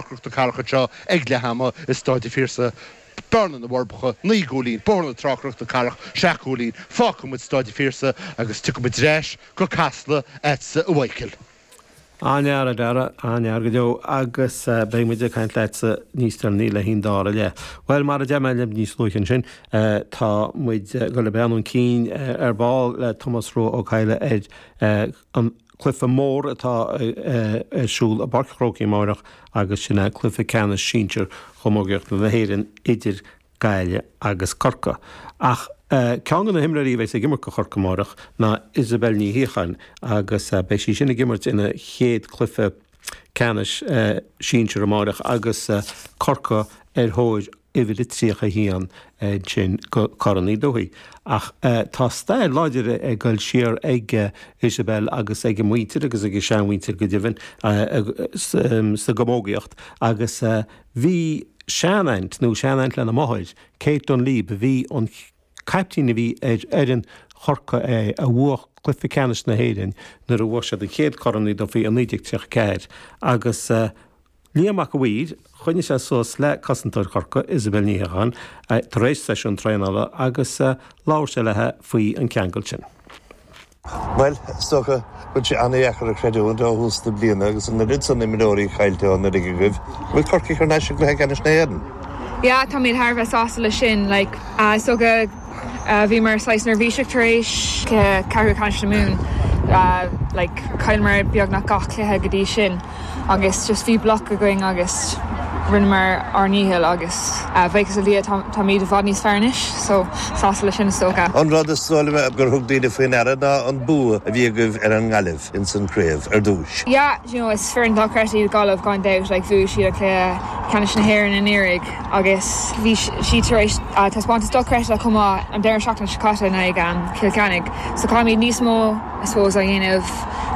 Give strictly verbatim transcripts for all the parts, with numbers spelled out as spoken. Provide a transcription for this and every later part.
Cnoc na Cathrach anseo ag leath ama i Staid an Phiarsaigh. Bearna na bhForbacha, naoi gcúilín, Bóthar na Trá Cnoc na Cathrach, seacht gcúilín. Fágfaidh muid Staid an Phiarsaigh agus tiocfaidh muid ar ais go Casla agatsa a Mhichael. An-fhear a Dhara, an-fhear go deo agus beidh muid ag caint leatsa níos deireanaí le haghaidh an dara leath. Bhuel mar a deir mé libh níos luaithe ansin, tá muid ag dul ag breathnú chun cinn ar ball le Tomás Rua Ó Cadhla ar an cluiche mór atá ar siúl i bPáirc an Chrócaigh amárach agus sin é cluiche ceannais sinsir chamógaíochta na hÉireann idir Gaillimh agus Corcaigh. Ach ceann de na himreoirí a bheas ag imirt do Chorcaigh amárach ná Isabel Ní Shíocháin agus beidh sí sin ag imirt ina chéad cluiche ceannais sinsir amárach agus Corcaigh ar thóir uimhir a tríocha a haon ansin go Corn Uí Dubhthaigh. Ach tá stair láidir ag dul siar ag Isabel agus ag a muintir agus ag a seanmhuintir go deimhin sa gcamógaíocht agus bhí seanaint nó seanaint lena máthair, Kate Dunleavy, a bhí an caiptín a bhí ar fhoireann Chorcaí a bhuaigh cluiche ceannais na hÉireann nuair a bhuaigh siad an chéad Chorn Uí Dufaigh i naoi déag tríocha ceathair agus Liam Mac a' Mhaoir, choinnigh sé suas le cosantóir Chorcaí, Isabel Ní Shíocháin, tar éis seisiún traenála agus labhair sé léi faoi an ceangal sin. Bhuel, is dócha go bhfuil sé an-dheacair a chreidiúint ó thús na bliana agus an oiread san imreoirí caillte ón fhoireann agaibh, go bhfuil Corcaigh thar n-ais i gcluiche ceannais na hÉireann. Yeah, táimid thar a bheith sásta leis sin. Like, uh, is dócha uh, bhíomar saghas neirbhíseach tar éis cluiche ceathrú ceannais na Mumhan. Uh, like, chailleamar beagnach gach cluiche go dtí sin agus just bhí bloc againn agus rinneamar ár ndícheall agus uh, buíochas le Dia táimid i bhfad níos fearr anois, so sásta leis sin is dócha. An rud is dóigh liom gur thug daoine faoi ndeara ná an bua a bhí agaibh ar an nGaillimh ins an craobh ar dtús. Yeah, you know, is foireann dochreidte iad Gaillimh gan dabht, like, bhuaigh siad an cluiche ceannais na hÉireann anuraidh agus bhí siad tar éis uh, taispeántas dochreidte chomh maith an deireadh seachtaine seo caite in aghaidh um, Chill Chainnigh. So caithfimid níos mó I suppose a dhéanamh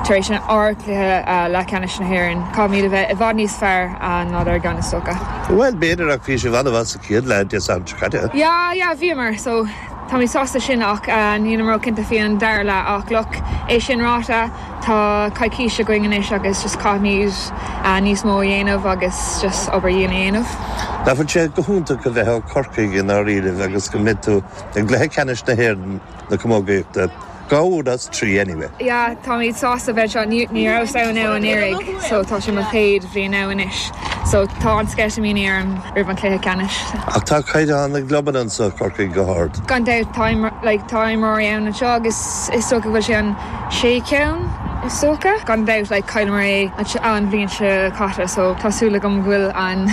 tar éis an ár cluiche uh, leathcheannais na hÉireann. Caithfimid a bheith i bhfad níos fearr uh, ná dár gceann is dócha. Well b'fhéidir ach bhí sibh an-mhaith sa chéad leath Dé Sathairn seo caite. Yeah, yeah, bhíomar, so tá mé sásta sin ach uh, níl mé cinnte faoi an dara leath ach look é sin ráite tá coicís againn anois agus just caithfimid uh, níos mó a dhéanamh agus just obair dhian a dhéanamh. Nach bhfuil sé go hiontach a bheith ó Corcaigh in áiríomh agus go mbeidh tú i gcluiche ceannais na hÉireann na camógaíochta dhá uair as trí anyway. Yeah, táimid sásta bheith seo ní ní raibh ann anuraidh, so tá sé mo chéad bhliain ann anois. So tá an sceitimíní orm roimh an cluiche ceannais. Ach tá caighdeán na gclubanna anseo Corcaigh go hard. Gan dabht tá like, tá imreoirí ann anseo agus is dócha go bhfuil sé an sé ceann is dócha. Gan dabht like, chailleamar é an bhliain seo caite, so tá súil agam go bhfuil an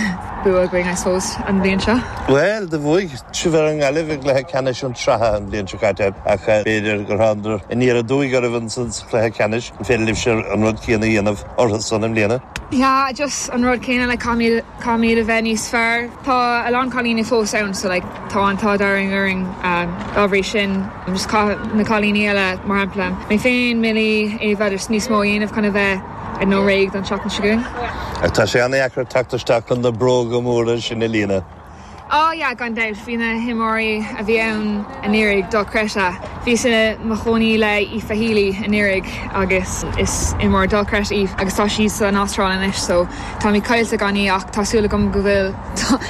bua againn I suppose an bhliain seo. Well, do bhuaigh sibh ar an nGaillimh i gcluiche ceannais an tsraithe an bhliain seo caite ach b'fhéidir gur thángthas aniar aduaidh oraibh ansan sa chluiche ceannais an féidir libhse an rud céanna a dhéanamh orthu san i mbliana. Yeah, just an rud céanna le caithfimid a bheith níos fearr. Tá a lán cailíní fós ann so like, tá an t-ádh orainn um, dá bhrí sin just na cailíní eile mar shampla. Mé féin Millie Eva just níos mó a dhéanamh chun a bheith ag nó réidh don seachtain seo chugainn. Tá sé an-deacair teacht isteach chun na bróga móra sin a líonadh. Oh yeah, gan dabht bhí na himreoirí a bhí ann anuraidh dochreidte. Bhíos i mo chónaí le Aoife Healy anuraidh agus is imreoir dochreidte í agus tá sí san Astráil anois so tá mé caillte gan í ach tá súil agam go bhfuil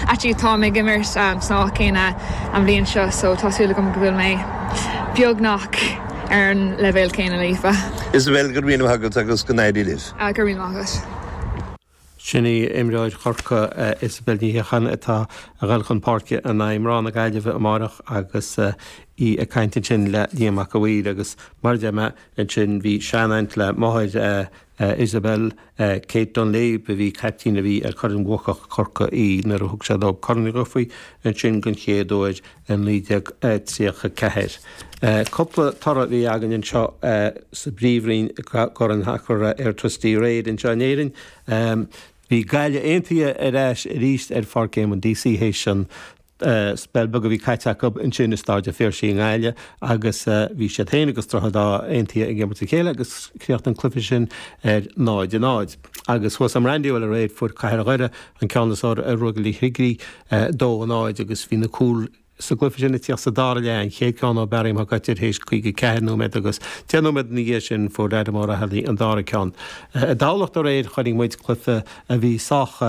actually tá mé ag imirt um, sna céanna an bhliain seo so tá súil agam go bhfuil mé beagnach ar an leibhéal céanna le Aoife. Isabel go raibh míle maith agat agus go n-éirí libh. Uh, go raibh míle maith agat. Sin í imreoir Chorcaí Isabel Ní Shíocháin atá ag dul chun páirce in aghaidh mná na Gaillimhe amárach agus í ag caint ansin le Liam Mac a' Mhaoir agus mar a deir mé ansin bhí seanaint le máthair Isabel Kate Dunleavy a bhí caiptín a bhí ar fhoireann bhuacach Chorcaí í nuair a thug sé dóibh Corn Uí Dhufaigh ansin den chéad uair in naoi déag tríocha ceathair. Cúpla toradh a bhí againn anseo sa bPríomhroinn gCorn Sacair Airtricity aréir anseo in Éirinn. Bhí Gaillimh Aontaithe ar ais arís ar Pháirc Éamonn Deacy théis an spell beag a bhí caite acu ansin i Staid an Phiarsaigh i nGaillimh agus bhí siad féin agus Droichead Átha Aontaithe ag imirt a chéile agus chríochnaigh an cluiche sin ar náid a náid. Agus thuas i Brandywell aréir fuair Cathair Dhoire an ceann is fearr ar Ruagairí Shligigh dó a náid agus bhí na cúil sa gcluiche sin ag tíocht sa dara leath an chéad ceann ó Barry Mac Coitir théis caoga ceathair nóiméad agus deich nóiméad ina dhiaidh sin fuair Adam Ó Raghallaigh an dara ceann. I dTamhlacht aréir chonaic muid cluiche a bhí sách